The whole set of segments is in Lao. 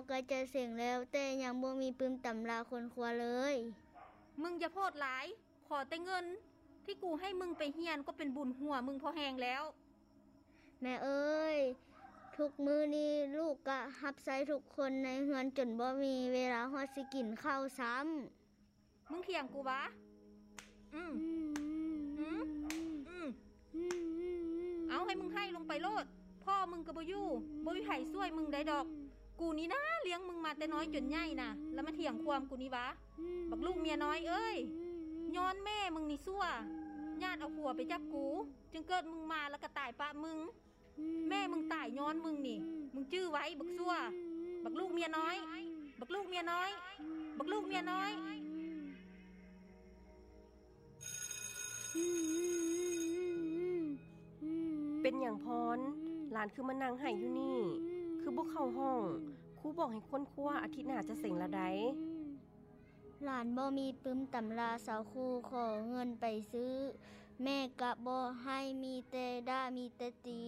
ໃກ້ຈະເສັງແລ້ວ, ແຕ່ຍັງບໍ່ມີປຶ້ມຕຳລາຄົ້ນຄວ້າເລີຍ. ມຶງຢ່າໂພດຫຼາຍ, ຂໍແຕ່ເງິນທີ່ກູໃຫ້ມຶງໄປຮຽນກໍເປັນບຸນຫົວມຶງພໍແຮງແລ້ວ. ແມ່ເອີຍ, ທຸກມື້ນີ້ລູກກະຮັບໃຊ້ທຸກຄົນໃນເຮືອນຈົນບໍ່ມີເວລາຮອດຊິກິນເຂົ້າຊ້ຳ. ມຶງຖຽງກູຫວາ? ອືມ ອືມ ອືມ ອືມ ອືມ ເອົາ ໃຫ້ມຶງໄຫ້ລົງໄປໂລດ. ພໍ່ມຶງກໍບໍ່ຢູ່, ບໍ່ມີໃຜຊ່ວຍມຶງໄດ້ດອກ. ກູນີ້ນາ ລ້ຽງມຶງມາແຕ່ນ້ອຍຈົນໃຫຍ່ນະ, ແລ້ວມາຖຽງຄວາມກູນີ້ຫວາ? ບັກລູກເມຍນ້ອຍເອີຍ, ຍ້ອນແມ່ມຶງນີ້ຊົ່ວ, ຍາດເອົາຜົວໄປຈາກກູ, ຈຶ່ງເກີດມຶງມາແລ້ວກໍຕາຍປະມຶງ. ແມ່ມຶງຕາຍຍ້ອນມຶງນີ້, ມຶງຈື່ໄວ້ ບັກຊົ່ວ, ບັກລູກເມຍນ້ອຍ, ບັກລູກເມຍນ້ອຍ, ບັກລູກເມຍນ້ອຍ. ເປັນຫຍັງພອນ? ຫຼານຄືມານັ່ງໄຫ້ຢູ່ນີ້? ຄືບໍ່ເຂົ້າຫ້ອງ? ຄູບອກໃຫ້ຄົ້ນຄວ້າ, ອາທິດໜ້າຈະເສັງລະໃດ໋. ຫຼານບໍ່ມີປຶ້ມຕຳລາ, ຊາວຄູຂໍເງິນໄປຊື້, ແມ່ກະບໍ່ໃຫ້, ມີແຕ່ດ່າມີແຕ່ຕີ,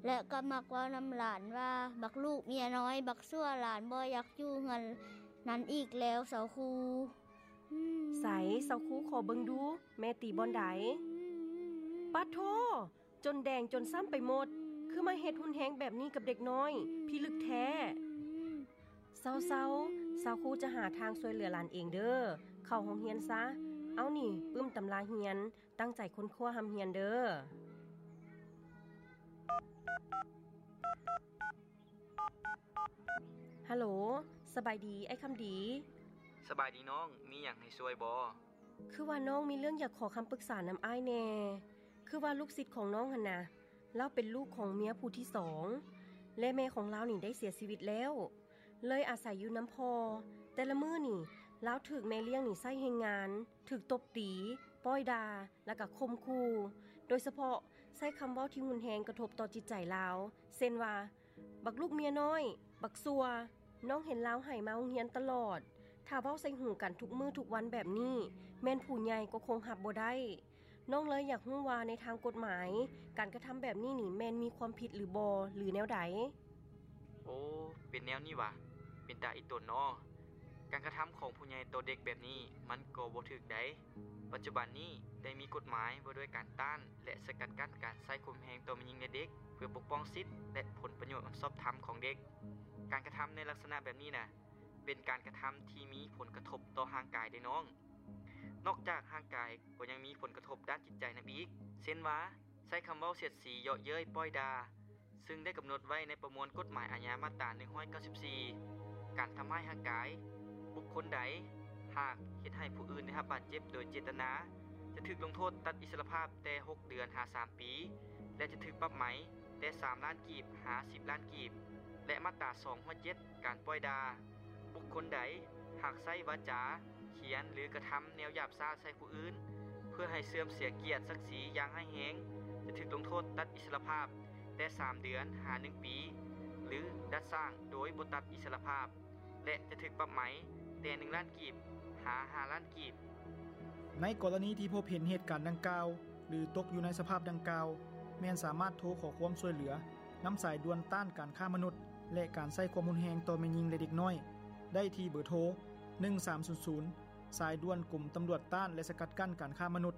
ແລະ ກໍມັກເວົ້ານຳຫຼານວ່າ ບັກລູກເມຍນ້ອຍ, ບັກຊົ່ວ, ຫຼານບໍ່ຢາກຢູ່ເຮືອນນັ້ນອີກແລ້ວ ຊາວຄູ. ໃສ ຊາວຄູ ຂໍເບິ່ງດູ ແມ່ຕີບ່ອນໃດ? ປາດໂທ! ຈົນແດງຈົນຊ້ຳໄປໝົດ, ຄືມາເຮັດຮຸນແຮງແບບນີ້ກັບເດັກນ້ອຍ, ພິລຶກແທ້. ເຊົາໆ, ຊາວຄູຈະຫາທາງຊ່ວຍເຫຼືອຫຼານເອງເດີ້. ເຂົ້າໂຮງຮຽນຊະ. ເອົານີ້, ປຶ້ມຕຳລາຮຽນ, ຕັ້ງໃຈຄົ້ນຄວ້າຮ່ຳຮຽນເດີ້. ຮັລໂຫຼ, ສະບາຍດີ ອ້າຍຄຳດີ. ສະບາຍດີນ້ອງ, ມີຫຍັງໃຫ້ຊ່ວຍບໍ່? ຄືວ່ານ້ອງມີເລື່ອງຢາກຂໍຄຳປຶກສານຳອ້າຍແດ່. ຄືວ່າລູກສິດຂອງນ້ອງຫັ້ນນະ, ລາວເປັນລູກຂອງເມຍຜູ້ທີສອງ ແລະ ແມ່ຂອງລາວນີ້ໄດ້ເສຍຊີວິດແລ້ວ. ເລີຍອາໄສຢູ່ນຳພໍ່. ແຕ່ລະມື້ນີ້ ລາວຖືກແມ່ລ້ຽງນີ້ໃຊ້ແຮງງານ, ຖືກຕົບຕີ, ປ້ອຍດ່າ ແລະ ກະຂົ່ມຂູ່. ໂດຍສະເພາະໃຊ້ຄຳເວົ້າທີ່ຮຸນແຮງກະທົບຕໍ່ຈິດໃຈລາວ, ເຊັ່ນວ່າ ບັກລູກເມຍນ້ອຍ, ບັກຊົ່ວ. ນ້ອງເຫັນລາວໄຫ້ມາໂຮງຮຽນຕະຫຼອດ. ຖ້າເວົ້າໃສ່ຫູກັນທຸກມື້ທຸກວັນແບບນີ້, ແມ່ນຜູ້ໃຫຍ່ກໍຄົງຮັບບໍ່ໄດ້. ນ້ອງເລີຍຢາກຮູ້ວ່າໃນທາງກົດໝາຍ, ການກະທຳແບບນີ້ນີ້ແມ່ນມີຄວາມຜິດຫຼືບໍ່ ຫຼືແນວໃດ? ໂອ້, ເປັນແນວນີ້ຫວາ? ເປັນຕາອີຕົນນໍ. ການກະທຳຂອງຜູ້ໃຫຍ່ຕໍ່ເດັກແບບນີ້ ມັນກໍບໍ່ຖືກໃດ. ປັດຈຸບັນນີ້ໄດ້ມີກົດໝາຍວ່າດ້ວຍການຕ້ານ ແລະ ສະກັດກັ້ນການໃຊ້ຄວາມແຮງຕໍ່ແມ່ຍິງ ແລະ ເດັກ ເພື່ອປົກປ້ອງສິດ ແລະ ຜົນປະໂຫຍດອັນຊອບທຳຂອງເດັກ. ການກະທຳໃນລັກສະນະແບບນີ້ນະ ເປັນການກະທຳທີ່ມີຜົນກະທົບຕໍ່ຮ່າງກາຍເດ້ນ້ອງ. ນອກຈາກຮ່າງກາຍກໍຍັງມີຜົນກະທົບດ້ານຈິດໃຈນຳອີກ, ເຊັ່ນວ່າ ໃຊ້ຄຳເວົ້າສຽດສີ, ເຍາະເຍີ້ຍ, ປ້ອຍດ່າ, ຊຶ່ງໄດ້ກຳນົດໄວ້ໃນປະມວນກົດໝາຍອາຍາມາດຕາໜຶ່ງຮ້ອຍເກົ້າສິບສີ່ ການທຳຮ້າຍຮ່າງກາຍ. ບຸກຄົນໃດຫາກເຮັດໃຫ້ຜູ້ອື່ນໄດ້ຮັບບາດເຈັບໂດຍເຈດຕະນາ ຈະຖືກລົງໂທດຕັດອິດສະລະພາບແຕ່ຫົກເດືອນຫາສາມປີ ແລະ ຈະຖືກປັບໃໝແຕ່ສາມລ້ານກີບຫາສິບລ້ານກີບ ແລະ ມາດຕາສອງຮ້ອຍເຈັດ ການປ້ອຍດ່າ. ບຸກຄົນໃດຫາກໃຊ້ວາຈາ, ຂຽນ ຫຼື ກະທຳແນວຫຍາບຊ້າໃສ່ຜູ້ອື່ນ ເພື່ອໃຫ້ເສື່ອມເສຍກຽດສັກສີຢ່າງຮ້າຍແຮງ ຈະຖືກລົງໂທດຕັດອິດສະລະພາບແຕ່ສາມເດືອນຫາໜຶ່ງປີ ຫຼື ດັດສ້າງໂດຍບໍ່ຕັດອິດສະລະພາບ ແລະ ຈະຖືກປັບໃໝແຕ່ໜຶ່ງລ້ານກີບຫາຫ້າລ້ານກີບ. ໃນກໍລະນີທີ່ພົບເຫັນເຫດການດັ່ງກ່າວ ຫຼື ຕົກຢູ່ໃນສະພາບດັ່ງກ່າວ, ແມ່ນສາມາດໂທຂໍຄວາມຊ່ວຍເຫຼືອນຳສາຍດ່ວນຕ້ານການຄ້າມະນຸດ ແລະ ການໃຊ້ຄວາມຮຸນແຮງຕໍ່ແມ່ຍິງ ແລະ ເດັກນ້ອຍ ໄດ້ທີ່ເບີໂທ ໜຶ່ງສາມສູນສູນ ສາຍດ່ວນກົມຕຳຫຼວດຕ້ານ ແລະ ສະກັດກັ້ນການຄ້າມະນຸດ.